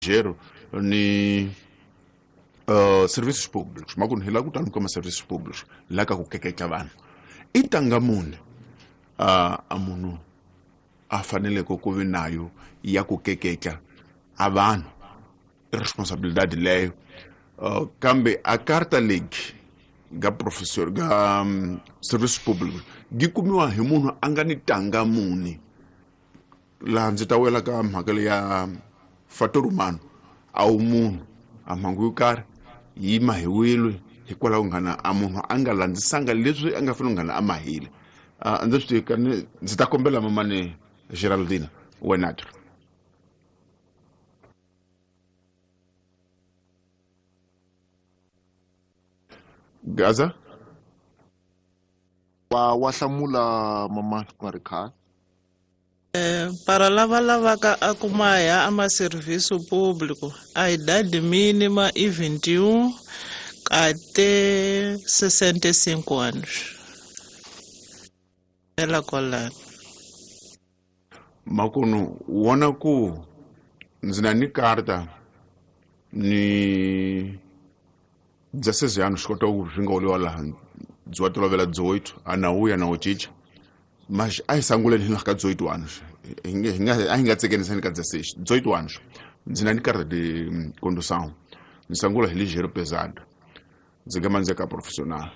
Ligeiro ni serviços públicos makunu hi lava ku tani ka ma-services públicos la ka ku keketla vanhu i tanga muni a munhu a faneleke ku vi nayo ya ku keketla a vanhu i responsabilidade leyo kambe a karta legi ga professor ga service public gi kumiwa hi munhu a nga ni tanga muni laha ndzi ta wela ka mhaka leya fator humano a wu munhu a mhangu yo karhi yi mahiwile hikwalaho nghana a munhu a nga landzisanga leswi a nga fanele nghana a mahile. A ndzi swi tivi kani ndzi ta kombela mamani Geraldina wenatro Gaza wa hlamula mama ku nga ri khale. Para lava lavaka a ku maha a ma-serviço público a idade mínima i 21 até 65 anos. Ela kwalano. Makunu wona ku ndzi na ni karta ni 16 anos kota ku swi nga oliwa laha byi wa tolovela 18 a na wuya na wu cinca mas a hi sanguleni hi ka 18 anos a hi nga tsekenisani ka 16 18 anos ndzi na ni karta de condução ndzi sangula hi ligeiro pesado ndzi nga mandzi ka profissional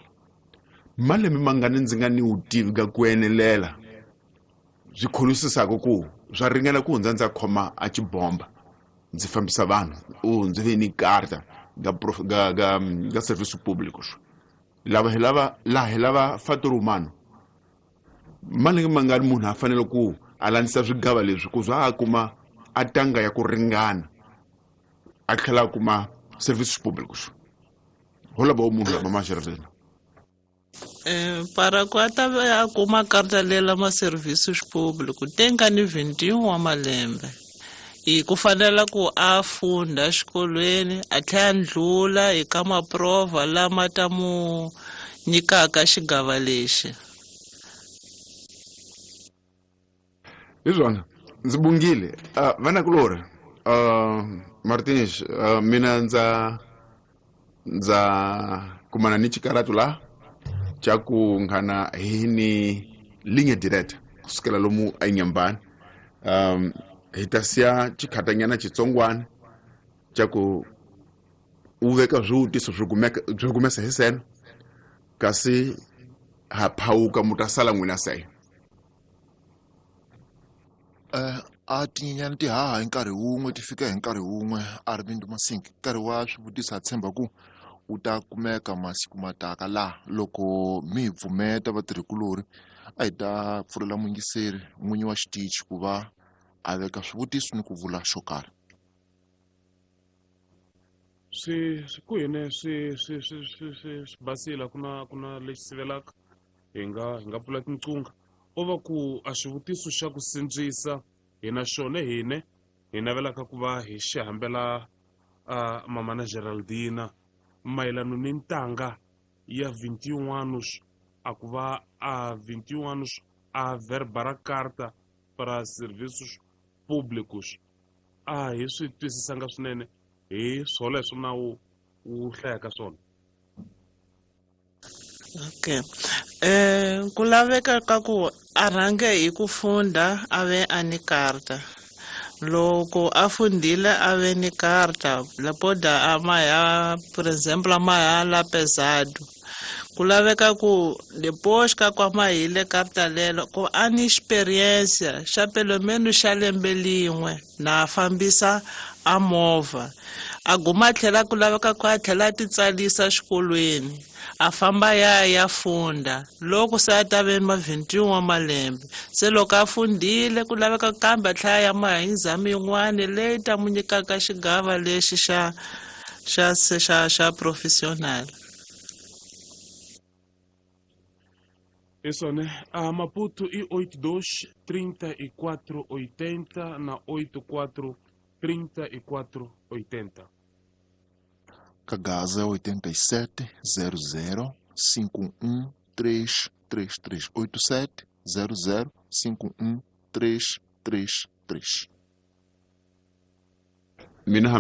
malembe mangani ndzi nga ni vutivi ka ku enelela byi kholisisaka ku swa ringana ku hundza ndza khoma a xibomba ndzi fambisa vanhu u ndzi ve ni karta ga serviço públicos lava hi lava laha hi lava fator humano malembe mangani munhu a fanele ku a landzisa swigava leswi ku za a kuma a tanga ya ku ringana a tlhela a kuma serviços públicos ho lava munhu la mama Geraldina. Para ku a ta a kuma karta lela ma-serviços públicos tem ka ni 21 wa malembe i ku fanela ku a funda xikolweni a tlhela a ndlula eka maprova lama ta mu nyikaka xigava lexi. Hi swona ndzi bungile vanakulorhi Martins mina ndza kumana ni xikaratu la xa ku nghana hi ni linha direta kusukela lomu enyambani hi ta siya xikhatanyana xitsongwana xa ku u veka swivutiso swi kumesa hi sena kasi ha phawuka mu ta sala n'wina se. A tinyenyani ti haha hi nkarhi wun'we ti fika hi nkarhi wun'we a ri Vindu Masingi nkarhi wa swivutiso ha tshemba ku wu ta kumeka masiku mataka laha loko mi hi pfumeta vatirhikulorhi a hi ta pfulela muyingiseri n'winyi wa xitichi ku va a veka swivutiso ni ku vula xo karhi. Swi ku hine swi swi swi swi swi swi basile ku na lexi sivelaka hi nga pfula tinqunga o va ku a xivutiso xa ku sindzisa hina xona hine hi navelaka ku va hi xi hambela mama na Geraldina mayelano ni ntanga ya 21 anos a ku va a 21 anos a verba carta para serviços públicos a hi swi twisisanga swinene hi swoleswo na wu hlayaka swona. Okay. Ku laveka ka ku a rhange hi ku funda a ve a ni karta loko a fundile a ve ni karta lapoda a maha por exemplo a maha la pesado ku laveka ku depois ka ku mahile karta lelo ku a ni experiência xa pelo menos xa lembe lin'we na fambisa a movha a guma tlhela ku laveka ku a tlhela a titsalisa xikolweni a famba ya funda loko se a ta ve ma 21 wa malembe se loko a fundile ku laveka kambe a tlhela ya maha exame yin'wana leyi ta mu nyikaka xigava lexi xa xa xa xa profissional. Isso, né? A Maputo e 82 34 80 na 84 34 80. Kagaza 87 00 51 333 87 00 51 333. Mina.